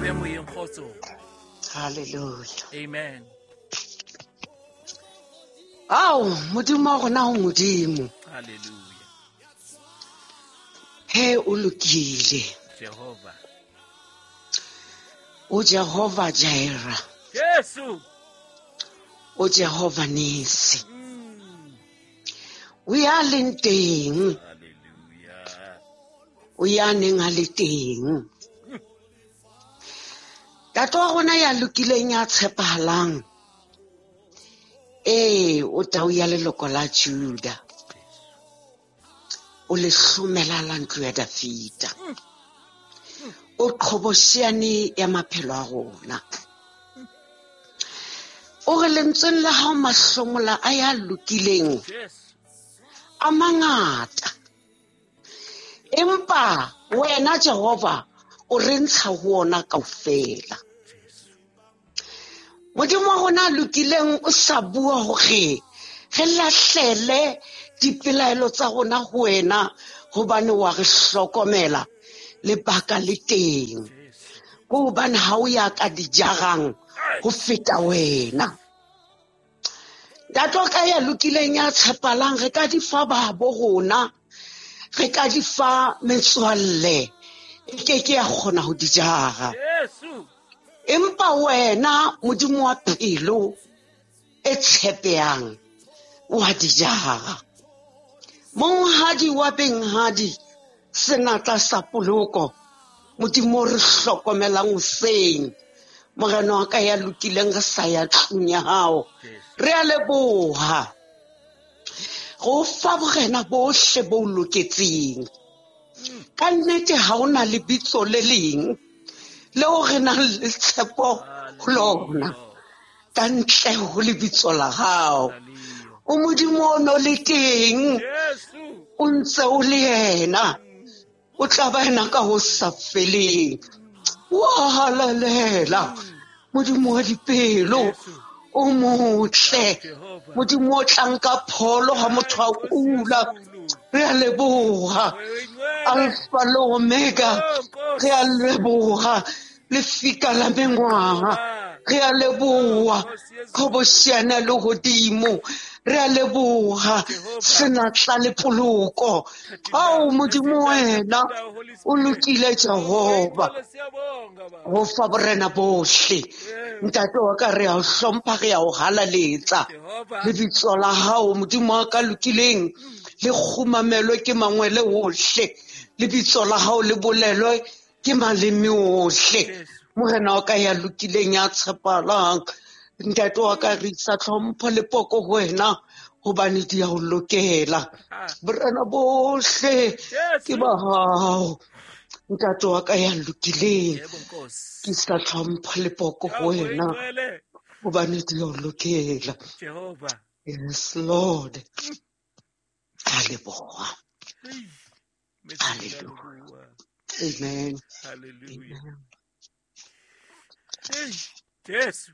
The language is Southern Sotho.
be moyeng kgotso. Hallelujah. Amen. Ao, Modimo wa rona o Modimo. Hallelujah. He o lokile. Jehova. O Jehova Jireh. Jesu. O Jehova Nisi. O ya leng teng. Hallelujah. O ya neng a le teng. Ntate wa rona ya lokileng ya tshepahalang. Ee, o tau ya leloko la Juda. O le hlomela la ntlo ya Dafita. O qhobosheane ya maphelo a rona. O re lentsweng la hao mahlomola a ya lokileng a mangata. Empa wena Jehova o re ntsha ho ona kaofela. Modimo wa rona a lokileng o sa bua hore re lahlele dipelaelo tsa rona ho wena hobane wa re hlokomela lebaka le teng. Ke hobane ha o ya ka di jarang ho feta wena. Ntate wa ka ya lokileng ya tshepalang, re ka di fa babo rona, re ka di fa metswalle, e ke ke ya kgona ho di jara. Empa wena Modimo wa pelo e tshepehang wa di jara. Monghadi wa benghadi, senatla sa poloko, Modimo o re hlokomelang hoseng. Morena wa ka ya lokileng re sa ya tlung ya hao. Re a leboha. Go fa borena bohle bo loketseng. Ka nnete ha hona lebitso le leng leo re nang le tshepo ho lona ka ntle ho lebitso la hao. O Modimo o no le teng, o ntse o le yena, o tla ba yena ka ho sa feleng. Wa halalela Modimo wa dipelo, o motle Modimo o tlang ka pholo ha motho a kula. Re a leboha Alpha le Omega, re a leboha lefika la mengwaha, re a leboha qhobosheane le hodimo, re a leboha senatla le poloko. Ao Modimo wena o lokile Jehova, ho fa borena bohle. Ntate wa ka re a o hlompha, re a o halaletsa. Lebitso la hao Modimo wa ka lokileng le kgumamelwe ke mangwele ohle, lebitso la hao le bolelwe ke maleme ohle. Morena wa ka ya lokileng ya tshepahalang, ntate wa ka re isa tlhompho le poko ho wena hobane di a o lokela. Borena bohle ke ba hao. Ntate wa ka ya lokileng, ke isa tlhompho le poko ho wena hobane di a o lokela. Yes, Lord. A leboha. Hallelujah. Amen. Hallelujah. Amen. Hey, Jesu.